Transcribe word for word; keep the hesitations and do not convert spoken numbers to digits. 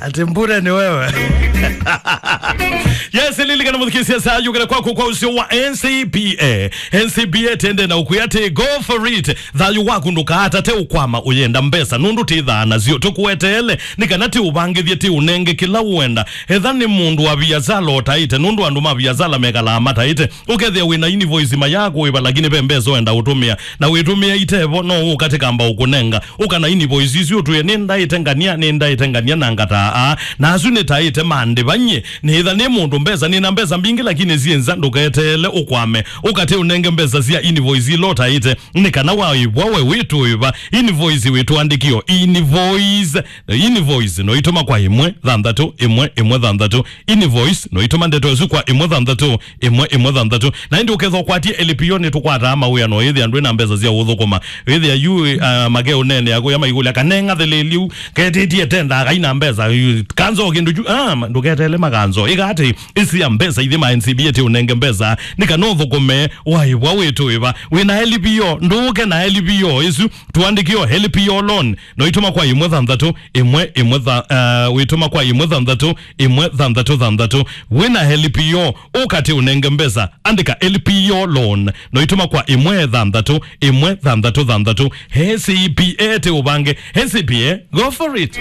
Ati mbure ni wewe. Yes, lilikana mũthikĩĩsya saa yũkĩte kwaku kwa ũseo wa N C B A. N C B A tende na ũkwĩa atĩ go for it. Thayũ waku ndũkaatate ũkwama ũyenda mbesa nũndũ tĩthaa nasyo. Tũkũeteele nĩ kana tĩũvangĩthye, tĩũnenge kĩla ũenda. Etha nĩ mũndũ wa viasala ũtaĩte, nũndũ andũ ma viasala mekalaa mataĩte. Ũkethĩa wĩ na invoice ma ya kũĩva, lakini ve mbesa ũenda ũtũmĩa, na wĩtũmĩa itevo, no ũka tĩkamba ũkũnenga. Ũka na invoice isu ũtwĩe, "Nĩndaĩte ngania, nĩndaĩte ngania na ngataa aa." Na asu nĩtaĩte mandĩva nyie. Nĩtha nĩ mũndũ mbesa, nĩna mbesa mbingĩ, lakini syĩ nza, ndũketeele ũkwame. Ũka tĩũnenge mbesa sya invoice ila ũtaĩte, nĩ kana waĩvwa we wĩtũĩva. Invoice wĩtũandĩkĩo. Invoice, invoice no itũma kwa ĩmwe thanthatũ ĩmwe ĩmwe thanthatũ. Invoice no itũma ndeto ĩsu kwa ĩmwe thanthatũ ĩmwe ĩmwe thanthatũ. Na ĩndĩ ũkethwa ũkwatie L P O, nĩtũkwataa mawĩa no ĩthĩa ndwĩ na mbesa sya ũthũkũma. Ĩthĩa yu, uh, make ũneenea kũya maikũlya, "Kanenga theleliu, ketĩtie tenda akai na mbesa." Yu, kanzo kĩndũ kyu, ah, ma-, ndũketele makanzo. Ĩka atĩ, ĩsĩa mbesa ithi ma N C B A tĩũnenge mbesa, nĩ kana ũthũkũme, waĩvwa wĩtũĩva. Wĩ na L P O, ndũke na L P O ĩsu, tũandĩkĩo L P O loan. No itũma kwa ĩmwe thanthatũ ĩmwe ĩmwe tha-, uh, wĩtũma kwa ĩmwe thanthatũ ĩmwe thanthatũ thanthatũ. Wĩ na L P O, ũka tĩũnenge mbesa, andĩka L P O loan. No itũma kwa ĩmwe thanthatũ ĩmwe thanthatũ thanthatũ. N C B A tĩũvange. N C B A, go for it.